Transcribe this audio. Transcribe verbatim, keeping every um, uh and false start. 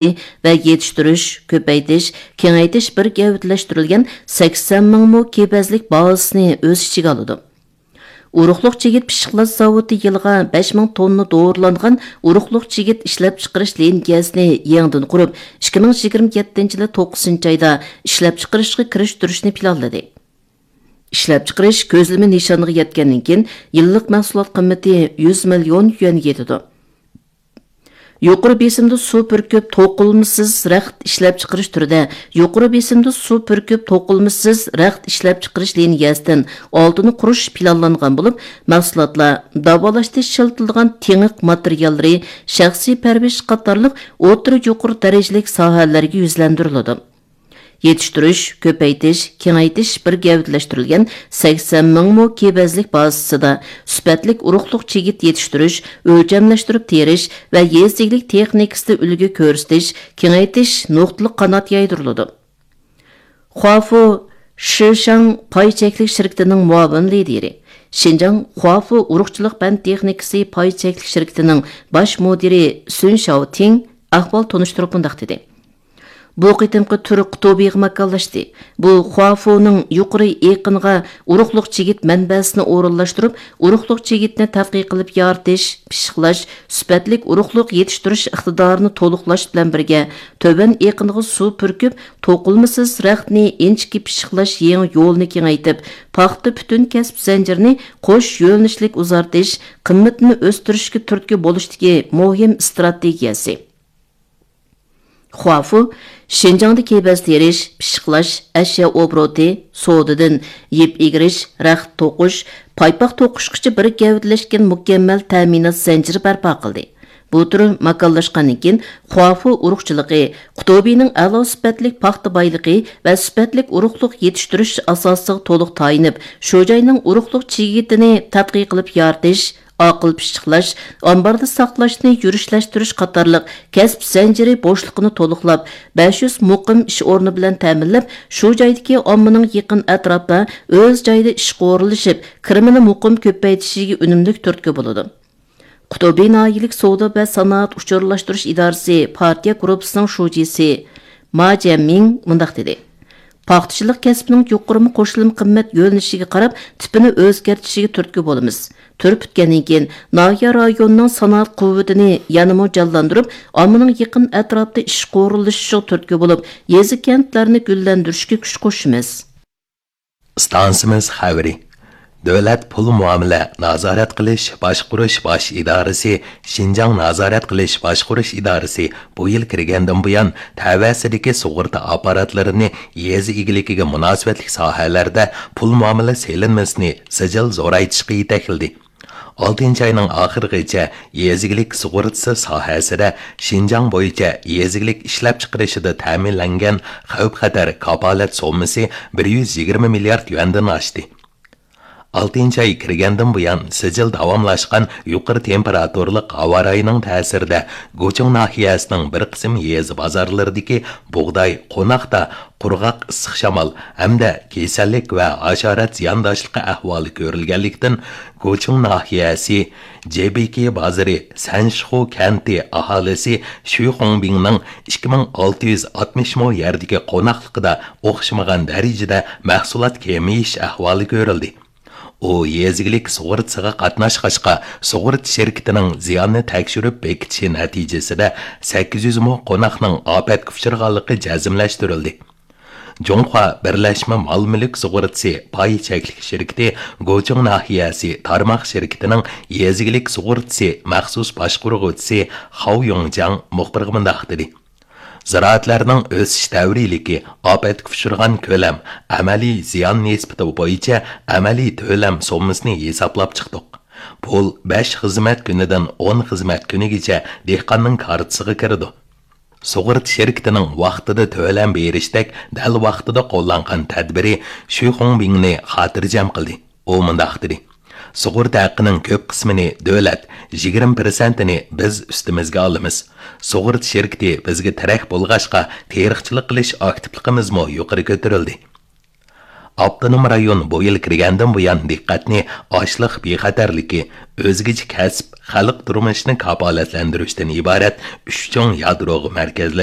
ۋە يېتىشتۈرۈش، كۆپەيتىش، كېڭەيتىش بىر گەۋدىلەشتۈرۈلگەن سەكسەن مىڭ مو كېپەزلىك بازىسىنى ئۆز ئىچىگە ئالىدۇ. ئۇرۇقلۇق چىگىت پىششىقلاش زاۋۇتى يىلىغا بەش مىڭ توننا دورىلانغان ئۇرۇقلۇق چىگىت ئىشلەپچىقىرىش لىنىيەسىنى يېڭىدىن قۇرۇپ، ئىككى مىڭ يىگىرمە يەتتىنچى يىلى توققۇزىنچى ئايدا ئىشلەپچىقىرىشقا كىرىشتۈرۈشنى پىلانلىدى. ئىشلەپچىقىرىش كۆزلىمە نىشانىغا يەتكەندىن كېيىن، يىللىق مەھسۇلات قىممىتى يۈز مىليون يۈەنگە يېتىدۇ. يۇقىرى بېسىمدا سۇ پۈركۈپ توقۇلمىسىز رەخت ئىشلەپچىقىرىش تۈرىدە يۇقىرى بېسىمدا سۇ پۈركۈپ توقۇلمىسىز رەخت ئىشلەپچىقىرىش لىنىيەسىدىن ئالتىنى قۇرۇش پىلانلانغان بولۇپ، مەھسۇلاتلار داۋالاشتا ئىشلىتىلىدىغان تېڭىق ماتېرىياللىرى، شەخسىي پەرۋىش قاتارلىق ئوتتۇرا يۇقىرى دەرىجىلىك ساھەلەرگە يۈزلەندۈرۈلىدۇ. يېتىشتۈرۈش، كۆپەيتىش، كېڭەيتىش بىر گەۋدىلەشتۈرۈلگەن سەكسەن مىڭ مو كېپەزلىك بازىسىدا سۈپەتلىك ئۇرۇقلۇق چىگىت يېتىشتۈرۈش، ئۆلچەملەشتۈرۈپ تېرىش ۋە يېزا ئىگىلىك تېخنىكىسىدا ئۈلگە كۆرسىتىش، كېڭەيتىش نۇقتىلىق قانات يايدۇرۇلىدۇ. خۇافۇ شىشاڭ پاي چەكلىك شىركىتىنىڭ مۇئاۋىن لىدىرى، شىنجاڭ خۇافۇ ئۇرۇقچىلىق پەن تېخنىكىسى پاي چەكلىك شىركىتىنىڭ باش مۇدىرى سۈن شياۋتىڭ ئەھۋال تونۇشتۇرۇپ مۇنداق دېدى. بۇ قېتىمقى تۈر قۇتۇبىغا ماكانلاشتى. بۇ خۇافۇنىڭ يۇقىرى ئېقىنغا ئۇرۇقلۇق چىگىت مەنبەسىنى ئورۇنلاشتۇرۇپ، ئۇرۇقلۇق چىگىتنى تەتقىق قىلىپ يارىتىش، پىششىقلاش، سۈپەتلىك ئۇرۇقلۇق يېتىشتۈرۈش ئىقتىدارىنى تولۇقلاش بىلەن بىرگە، تۆۋەن ئېقىنغا سۇ پۈركۈپ، توقۇلمىسىز رەختنى ئىنچىكە پىششىقلاش يېڭى يولىنى كېڭەيتىپ، پاختا پۈتۈن كەسىپ زەنجىرىنى قوش يۆنىلىشلىك ئۇزارتىش، قىممىتىنى ئۆستۈرۈشكە تۈرتكە بولۇشتىكى مۇھىم ئىستراتېگىيەسى. خۇافۇ شىنجاڭدا كېپەز تېرىش، پىششىقلاش، ئەشيا ئوبوروتى، سودىدىن يىپ ئېگىرىش، رەخت توقۇش، پايپاق توقۇشقىچە بىر گەۋدىلەشكەن مۇكەممەل تەمىنات زەنجىرى بەرپا قىلدى. بۇ تۈر ماكانلاشقاندىن كېيىن، خۇافۇ ئۇرۇقچىلىقى قۇتۇبىنىڭ ئەلا سۈپەتلىك پاختا بايلىقى ۋە سۈپەتلىك ئۇرۇقلۇق يېتىشتۈرۈش ئاساسىغا تولۇق تايىنىپ، شۇ جاينىڭ ئۇرۇقلۇق چىگىتىنى تەتقىق قىلىپ يارىتىش، ئاقىل پىششىقلاش، ئامباردا ساقلاشنى يۈرۈشلەشتۈرۈش قاتارلىق كەسىپ زەنجىرى بوشلۇقىنى تولۇقلاپ، بەش يۈز مۇقىم ئىش ئورنى بىلەن تەمىنلەپ، شۇ جايدىكى ئاممىنىڭ يېقىن ئەتراپتا ئۆز جايىدا ئىشقا ئورۇنلىشىپ، كىرىمىنى مۇقىم كۆپەيتىشىگە ئۈنۈملۈك تۈرتكە بولىدۇ. قۇتۇبى ناھىيەلىك سودا ۋە سانائەت ئۇچۇرلاشتۇرۇش ئىدارىسى پارتىيە گۇرۇپپىسىنىڭ شۇجىسى ما جيەنمىڭ مۇنداق دېدى: پاختىچىلىق كەسپىنىڭ يۇقىرىمۇ قوشۇلما قىممەت يۆنىلىشىگە قاراپ، تىپىنى ئۆزگەرتىشىگە تۈرتكە بولىمىز. تۈر پۈتكەندىن كېيىن، ناھىيە رايونىنىڭ سانائەت قۇۋۋىتىنى يەنىمۇ جانلاندۇرۇپ، ئاممىنىڭ يېقىن ئەتراپتا ئىشقا ئورۇنلىشىشىغا تۈرتكە بولۇپ، يېزا، كەنتلەرنى گۈللەندۈرۈشكە كۈچ قوشىمىز. ئىستانسىمىز خەۋىرى. دۆلەت پۇل مۇئامىلە نازارەت قىلىش باشقۇرۇش باش ئىدارىسى، شىنجاڭ نازارەت قىلىش باشقۇرۇش ئىدارىسى بۇ يىل كىرگەندىن بۇيان، تەۋەسىدىكى سۇغۇرتا ئاپپاراتلىرىنى يېزا ئىگىلىكىگە مۇناسىۋەتلىك ساھەلەردە پۇل مۇئامىلە سېلىنمىسىنى سىجىل زورايتىشقا يېتەكلىدى. ئالتىنچى ئاينىڭ ئاخىرىغىچە يېزا ئىگىلىك سۇغۇرتىسى ساھەسىدە شىنجاڭ بويىچە يېزا ئىگىلىك ئىشلەپچىقىرىشىدا تەمىنلەنگەن خەۋپ-خەتەر كاپالەت سوممىسى بىر يۈز يىگىرمە مىليارد يۈەندىن ئاشتى. ئالتىنچى ئاي كىرگەندىن بۇيان، سىجىل داۋاملاشقان يۇقىرى تېمپېراتۇرىلىق ھاۋا رايىنىڭ تەسىرىدە، گۇچۇڭ ناھىيەسىنىڭ بىر قىسىم يېزا بازارلىرىدىكى بۇغداي، قوناقتا قۇرغاق ئىسسىق شامال ھەمدە كېسەللىك ۋە ھاشارات زىيانداشلىقى ئەھۋالى كۆرۈلگەنلىكتىن، گۇچۇڭ ناھىيەسى جېبىكى بازىرى سەنشخۇ كەنتى ئاھالىسى شۈي خۇڭبىڭنىڭ ئىككى مىڭ ئالتە يۈز ئاتمىش مو يەردىكى قوناقلىقىدا ئوخشىمىغان دەرىجىدە مەھسۇلات كېمىيىش ئەھۋالى كۆرۈلدى. ئۇ يېزا ئىگىلىك سۇغۇرتىسىغا قاتناشقاچقا، سۇغۇرتا شىركىتىنىڭ زىياننى تەكشۈرۈپ بېكىتىشى نەتىجىسىدە، سەككىز يۈز مو قوناقنىڭ ئاپەتكە ئۇچرىغانلىقى جەزملەشتۈرۈلدى. جۇڭخۇا بىرلەشمە مال مۈلۈك سۇغۇرتىسى پاي چەكلىك شىركىتى گۇچۇڭ ناھىيەسى تارماق شىركىتىنىڭ يېزا ئىگىلىك سۇغۇرتىسى مەخسۇس باشقۇرغۇچىسى خاۋ يۇڭجياڭ مۇخبىرغا مۇنداق دېدى: زىرائەتلەرنىڭ ئۆسۈش دەۋرىيلىكى، ئاپەتكە ئۇچرىغان كۆلەم، ئەمەلىي زىيان نىسبىتى بويىچە ئەمەلىي تۆلەم سوممىسىنى ھېسابلاپ چىقتۇق. پۇل بەش خىزمەت كۈنىدىن ئون خىزمەت كۈنىگىچە دېھقاننىڭ كارتىسىغا كىرىدۇ. سۇغۇرتا شىركىتىنىڭ ۋاقتىدا تۆلەم بېرىشتەك دەل ۋاقتىدا قوللانغان تەدبىرى شۈي خۇڭبىڭنى خاتىرجەم قىلدى. ئۇ مۇنداق دېدى: سۇغۇرتا ھەققىنىڭ كۆپ قىسمىنى دۆلەت، يىگىرمە پىرسەنتىنى بىز ئۈستىمىزگە ئالىمىز. سۇغۇرتا شىركىتى بىزگە تىرەك بولغاچقا، تېرىقچىلىق قىلىش ئاكتىپلىقىمىزمۇ يۇقىرى كۆتۈرۈلدى. ئاپتونوم رايون بۇ يىل كىرگەندىن بۇيان دىققەتنى ئاشلىق بىخەتەرلىكى، ئۆزگىچە كەسىپ، خەلق تۇرمۇشىنى كاپالەتلەندۈرۈشتىن ئىبارەت ئۈچ چوڭ يادروغا مەركەزلەشتۈرۈپ،